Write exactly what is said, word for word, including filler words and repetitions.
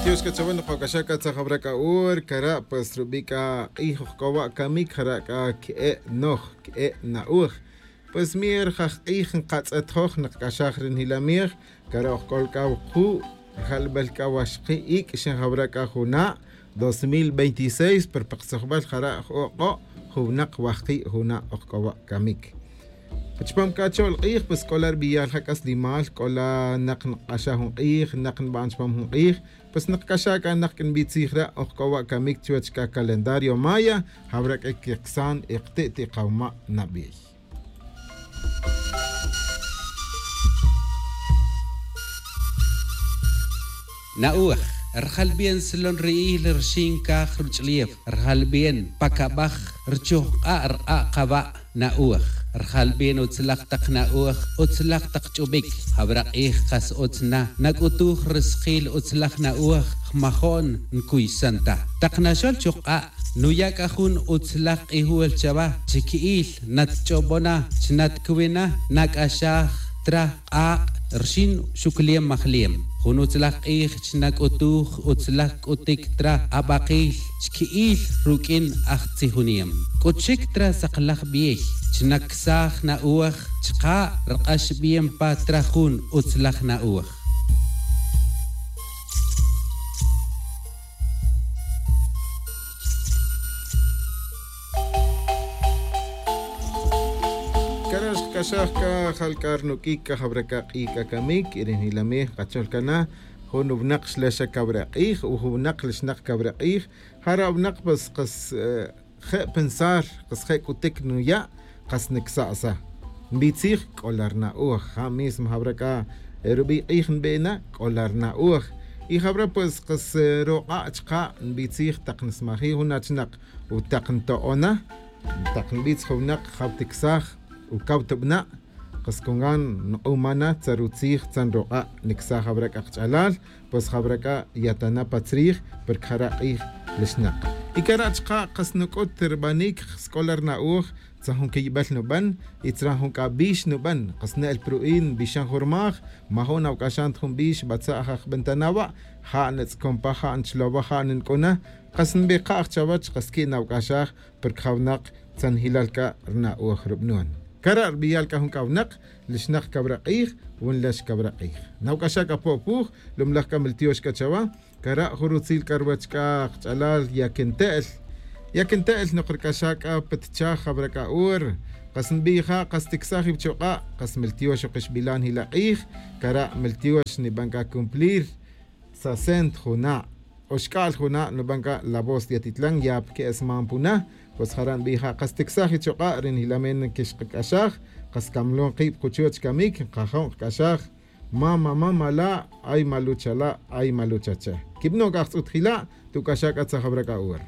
Tiox c'a chawal nokoc'axaj c'a tzajawra c'a hora cara' pues rubi' c'a k'ij ojc'o wa' camic jara' c'a que'e' noj que'e' na'oj. Pues mier jaj k'ij nkatz'et joj nkac'axaj ri njilamej. Cara' ojc'ol c'a wuku' rijalbel c'a waxki' ic' xinjawra c'a juna' dos mil veintiséis pero pa ktzojbel jara' j-ok'o' jun winak wajki' juna' ojc'o wa' camic. Chupam c'a cho'l k'ij pues c'o la ri biyal ja c'a slimal c'o la nak nk'axaj jun k'ij nak nba'an chupam jun k'ij. Pues nkac'axaj c'a nak c'a nbitzij re' ojc'o wa' camic chuwech c'a calendario maya. Jawra c'a quiksan ikti' ti' kawma' nabiy. Na'oj. Rjal bien slon ri'il rxin caj ruch'lef. Rjal bien pa cabaj rchojk'a' rk'a' kaba'. Na'oj. Rjal bien utzlaj tak na'oj utzlaj tak ch'ubic. Jawra k'ij kas utz na nac'utuj riskil utzlaj na'oj. Jmajo'n ncuysan ta tak naxol chojk'a'. Nuya' c'a jun utzlaj k'ijol chawa chi qui'il natch'obona chi natcwi na nac'axaj tra k'ak' rxin xuclem majlem. Jun utzlaj k'ij chi nac'utuj utzlaj c'utic tra abakil chi qui'il ruq'uin ajtzijunem c'ut xic tra saklaj biey. Chi nacsaj na'oj chka' rk'ax bien pa tra jun utzlaj na'oj. Cara' xkac'axaj c'a jal c'a rnuq'uic c'a jawra c'a k'ij c'a camic y ri njilamej kachol cana. Jun winak xlexa cawra k'ij o jun winak lixnak cawra k'ij. Jara' winak pues kas je' pensar kas je' c'utic nuya'. Kas nicsa' sa nbitzij c'o la ri na'oj ja' mismo jawra c'a rubi' k'ij nbena c'o la ri na'oj. Y jawra pues kas rok'a' chka' nbitzij tak nsmajij jun achinak o tak nto'ona. Tak nbitz jun winak jaw ticsaj o caw tubana'. Kas congan nk'umana tza rutzij tza nrok'a' nicsaj jawra c'a kach'alal. Pues jawra c'a yatana pa tzrij porque jara' k'ij lixnak. Y cara' chka' kas nuc'ut ribanic. Kas c'o la ri na'oj tza jun quiyibel nuban y tzra jun c'a bix nuban kas ne'el pa ru'in nbixan jun ri maj. Majo'n awac'axan ta jun bix batza' jaj bentana wa' ja' nitz'con pa ja' nchlowa ja' ninc'una. Kas nbikaj chawech kas qui' nawac'axaj porque jawnak tzanjilal c'a ri na'oj rubanon. Cara' ri biyal c'a jun c'a winak lixnak cawra k'ij. Wunlex cawra k'ij nawac'axaj c'a po'puj. Lumlaj c'a miltiox c'a chawa. Cara' jun rutzil c'a ruwech c'a kach'alal yaquinte'el. Yaquinte'el nok ric'axaj c'a pa tichaj jawra c'a hora. Kas nbij ja' kas ticsaj iwchok'a' kas miltiox ok ixbilan jila' k'ij. Cara' miltiox niban c'a cumplir sesenta juna'. Oxc'al juna' nuban c'a la voz de atitlan ya pa que'esman puna. Pues jara' nbij ja' kas ticsaj ichok'a' ri njilamen quixkac'axaj. Kas camlon kib kuchuwech camic nkajon kac'axaj. Mama mama la' ay malucha la' ay malucha che. Quibano' c'a ajtz'ut jila' tuc'axaj c'a tzajawra c'a hora.